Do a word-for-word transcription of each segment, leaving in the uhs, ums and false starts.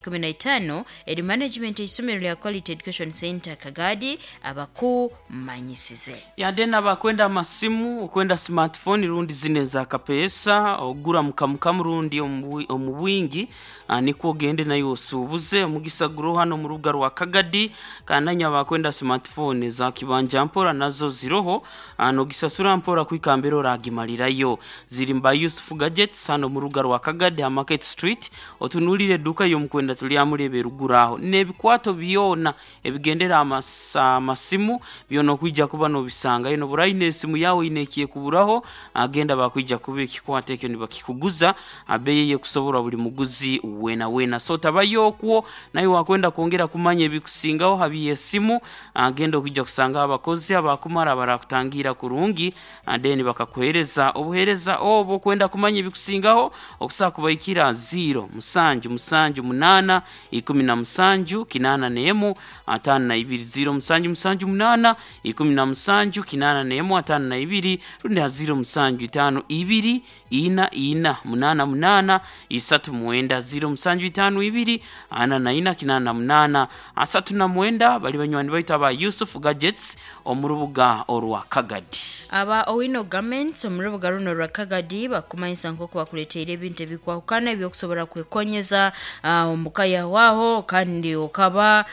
Kumi na itaano eri management eisomero lya Quality Education Center Kagadi abakumanyisize. Yade nabakwenda amasimu, okwenda smartphone rundi zine za kapesa ogura mukamukamu rundi omu bwingi, nikwo ogende nayo osuubuze omugisa guro hano mu rubuga rwa Kagadi. Kandi abakwenda smartphone za kibanja mpora nazo ziroho, nogisasura mpora kwikambira oragimalirayo. Ziri mba Yusuf Gadgets hano mu rubuga rwa Kagadi ha Market Street, otunulire eduka y'omukwenda tulyamulebe ruguraho n'ebikwato byona ebigendera amasimu byona okwijja kuba nobisangayo. Noburaine esimu yawe inekiye kuburaho, agenda bakwija kuba ekikwato ekyo nibakikuguza abeye kusoborwa buli muguzi wena wena. So tabayo okwo naye wakwenda kwongera kumanya ebikusingaho habiye esimu, agenda okwijja kusanga abakozi abakumara barakutangira kurungi then bakakuhereza obuhereza obwo. Kwenda kumanya ebikusingaho okusaa kubaikira zero musanju musanju munana ikumi na musanju kinana nemu atano na ibiri, zero musanju musanju munana ikumi na musanju kinana nemu atano na ibiri, rundi zero musanju itano ibiri ina ina munana munana isatu mwenda, zero musanju itano ibiri ana na ina kinana na munana asatu na mwenda. Bali banywani baitu aba Yusuf Gadgets omu rubuga orwa Kagadi. Aba Owino Garments omu rubuga runo rwa Kagadi bakumanyisa nk'oku bakuleteire ebintu ebikwahukana ebyokusobora kwekonyeza omuka yawaho, kandi okaba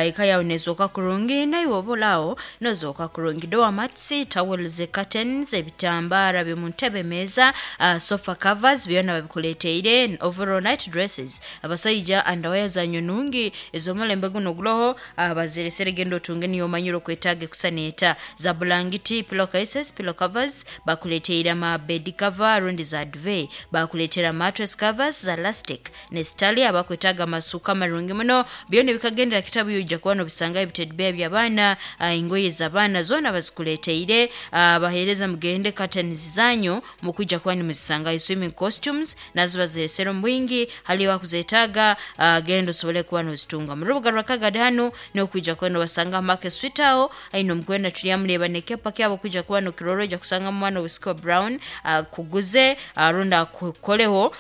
eka yawe nezooka kurungi naiwe obulaho nozooka kurungi. Doormats, towels, curtains, ebitambara by'omuntebe, meza, sofa covers byona babikuleteire, overall night dresses, abasaija underwear zanyu nungi ez'omulembe guno guloho baziresere, genda otunge niyo omanyire okwetaaga ekusaneeta za bulangiti, pillow cases, pillow covers bakuleteire, ama bed cover rundi za duvet bakuleetera, mattress covers za elastic ne stali, abakwetaaga amasuka amarungi muno byona bikagendera kitabu yojja kuba nobisanga, ebitedbeya by'abaana, engoye z'abaana zoona bazikuleteire. Baheereza mugende curtains zanyu mukwijja kuba nimuzisangayo. Swimming costumes nazo baziresere omu bwingi, haliyo akuzeetaaga genda osobole kuba nozitunga mu rubuga rwa Kagadi hanu n'okwija kuba nobasanga Market Street aho aine omukwenda tulyamureba nekepa kyabo kwija kuba nokirora, ojja kusanga mwana wisiki wa brown akuguze rundi akukoleho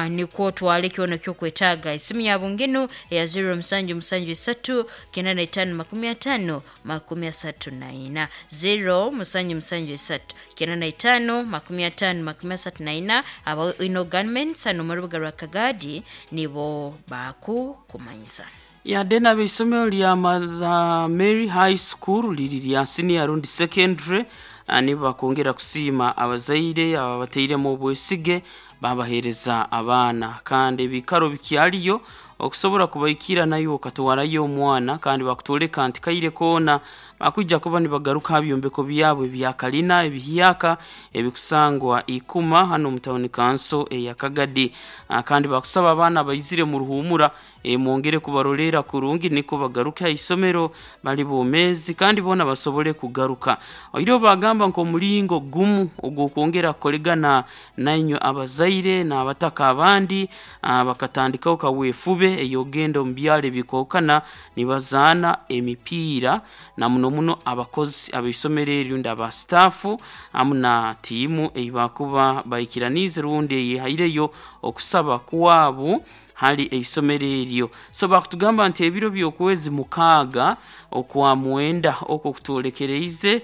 nikwo otwale kyona kyokwetaaga. Esimu yabo nginu eya zero musanju musanju isatu kenda na itaano makumi atano makumi asatu na ina, zero musanju musanju isatu kenda na itaano makumi atano makumi asatu na ina. Aba Ino Garments hano mu rubuga rwa Kagadi nibo bakukumanyisa. Yade n'abeisomero lya Mother Mary High School liri lya senior rundi secondary nibo bakongera kusiima abazaire ababateiremu obwesige babahereza abaana, kandi ebikaro bikyaliyo okusobola kubaikira nayo okatwarayo omwana, kandi bakutoleka nti kaire koona bakwijja kuba nibagaruka ha byombeko byabwe ebya kalina ebihyaka ebikusangwa ikuma hano mu tawuni kanso eya Kagadi. Kandi bakusaba abaana baizire mu ruhumura e, mwongere kubarolera kurungi niko bagaruke ha isomero bali bomezi kandi bona basobole kugaruka. Oiro bagamba nk'omulingo gumu ogw'okwongera kukolegana nainywe abazaire n'abataka abandi, bakatandikaho kaweefube eyogenda omu byaro ebikokana nibazaana emipiira na muno muno abakozi ab'eisomero eryo rundi aba staff hamu na tiimu eibakuba baikiraniize rundi eyehaireyo okusaba kwabo hali eisomero eryo. So bakutugamba nti ebiro by'okwezi mukaaga okwa mwenda okwo kutulekereize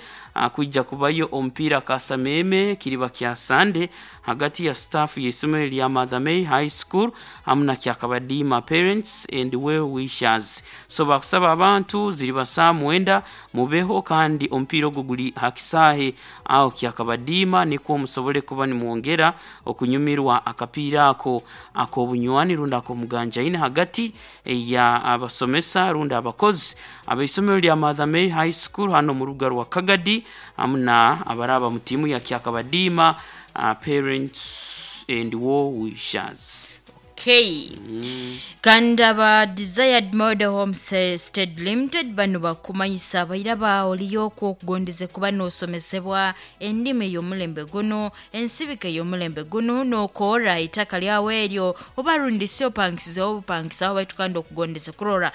kwijja kubayo omupiira kasameme kiriba kya Sande hagati ya staff y'eisomero lya Mother Mary High School hamu na Kyakabadiima Parents and Well Wishers. So bakusaba abantu ziriba saa mwenda mubeho, kandi omupiira ogwo guli hakisaahe aho Kyakabadiima nikwo musobole kuba nimwongera okunyumirwa akapiira ako ak'obunywani rundi ak'omuganjaine hagati ya abasomesa rundi abakozi abeisomero lya Mother Mary High School hano mu rubuga rwa Kagadi hamu na abaraba mu tiimu ya Kyakabadiima uh, Parents and Well Wishers. Okay. Mm. Kandi aba Desired Model Homestead Limited bano bakumanyisa abaira oliyo okugondeze kuba n'osomesebwa endimi ey'omulembe guno, ensibika ey'omulembe guno, n'okoora itaka lyawe eryo oba rundi si opangisizeho obupangisaho baitu kandi okugondeze kurora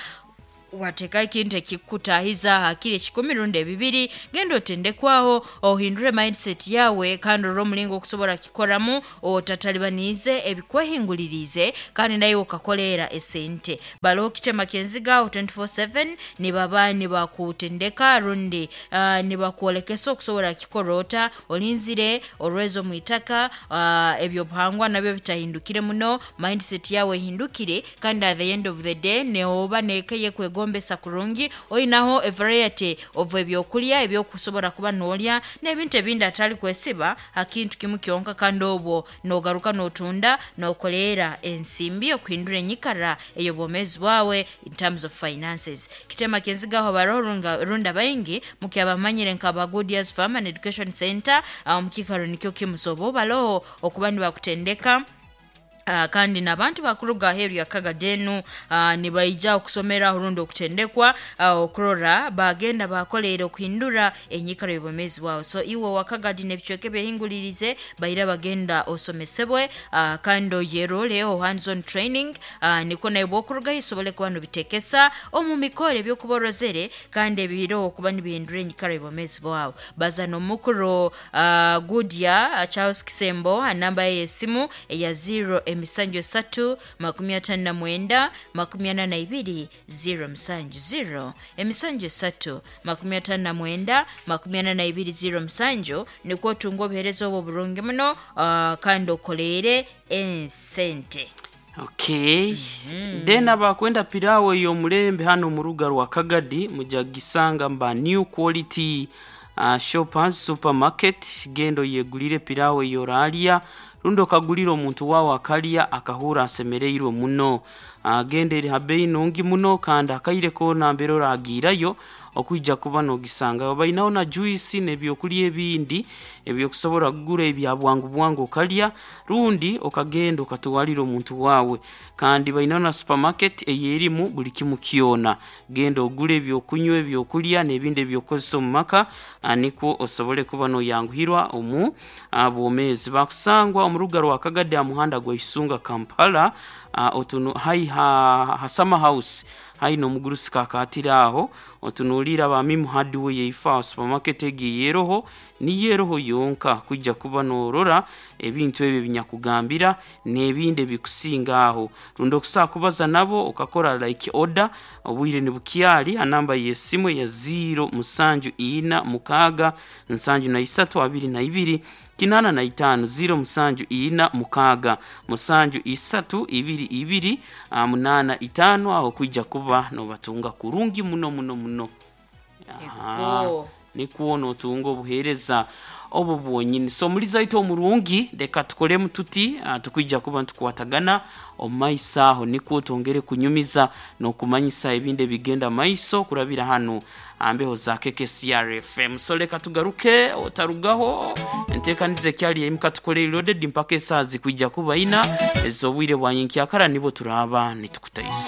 Wateka ekintu ekikutahiza hakiri ekikumi rundi ebibiri, genda otendekwaho, ohindure mindset yawe, kandi orore omulingo okusobora kikoramu otatalibaniize ebikwehinguliriize, kandi nawe okakoleera esente. Baroho kitema kyenziga twenty-four seven nibaba nibakutendeka rundi uh, nibakwolekesa okusobora kikora ota olinzire orwezo omu itaka, uh, ebyobuhangwa nabyo bitahindukire muno, mindset yawe ehindukire, kandi at the end of the day neoba nekeye kwegombesa kurungi, oinaho a variety of ebyokulya ebyokusobora kuba nolya n'ebintu ebindi atali kwesiba akintu kimu kyonka, kandi obwo nogaruka notunda nokoleera ensimbi okuhindura enyikara ey'obwomeezi bwawe in terms of finances. Kitema kyenzigaho baroho runda baingi mukyabamanyire nka Goodyear's Farm and Education Center omukikaro nikyo kimu, so bo baroho okuba nibakutendeka. Uh, kandi n'abantu bakuruga aheeru ya Kagadenu uh, nibaija okusomera rundi okutendekwa uh, okurora bagenda bakoleera okuhindura enyikara y'obwomeezi bwawe. So iwe wa Kagadi n'ebicweka ebyehingulirize baira bagenda osomesebwe, uh, kandi oyeroleho hands on training, uh, niko nawe bwokurugayo osobole kuba nobitekesa omu mikoro ebyokuba orozere kandi ebiroho okuba nibihindura enyikara y'obwomeezi bwawe. Baza n'omukuru uh, Goodyear Charles Kisembo, namba ye y'esimu eya zero emisanju esatu makumi atano na mwenda makumi ana na ibiri zero musanju zero emisanju esatu makumi atano na mwenda makumi ana na ibiri zero musanju, nikwo otunga obuheereza obwo burungi muno, uh, kandi okoleere ensente. Okay. Mm-hmm. Then abakwenda pirawo y'omulembe hano mu ruga rwa Kagadi mujagisanga mba New Quality uh, Shoppers Supermarket, gendo yegulire pirawo yoralya rundi okagulira omuntu wawe akalya akahura asemereirwe muno. Agenda eri habeyi nungi muno kandi akaire koona mbere oragirayo okwija kuba nogisanga. Bainaho na juice n'ebyokulya ebindi ebyokusobora kugura ebya bwangu bwangu okalya rundi okagenda okatwalira omuntu wawe. Kandi bainaho na supermarket eyerimu buli kimu kyona, genda ogule ebyokunywa, ebyokulya n'ebindi ebyokukozesa omu maka, nikwo osobole kuba noyanguhirwa omu bwomeezi. Bakusangwa omu ruga rwa Kagadi aha muhanda gwa Isunga Kampala, uh, otunu hai ha, ha summer house hai n'omugurusi kakatira aho otunuulira abamimu hardware yeifa supermarket egi yeroho niyeroho yonka kujja kuba norora ebintu ebyo binyakugambira n'ebindi ebikusinga aho. Rundi okusaa kubaza nabo okakora like order obwire nibukyali anamba y'esimu ya zero musanju ina mukaaga nsanju na isatu abiri na ibiri kinana na itano zero musanju ina mukaaga musanju isatu ibiri ibiri munana itano, aho kwijja kuba nobatunga kurungi muno muno muno. Nikwo notunga obuheereza obu bwonyini. So muri zaitu omurungi reka tukolemu tuti tukwija kuba ntukwatagana omumaiso aho, nikwo twongere kunyumiza n'okumanyisa ebindi ebigenda maiso kurabira hano ambeho za K K C R F M. So leka tugaruke otarugaho enteekaniza ekyali emuka tukole loaded mpaka esaazi kwijja kuba ina ez'obwire bwa nyenkyakara nibo turaba nitukutaiso.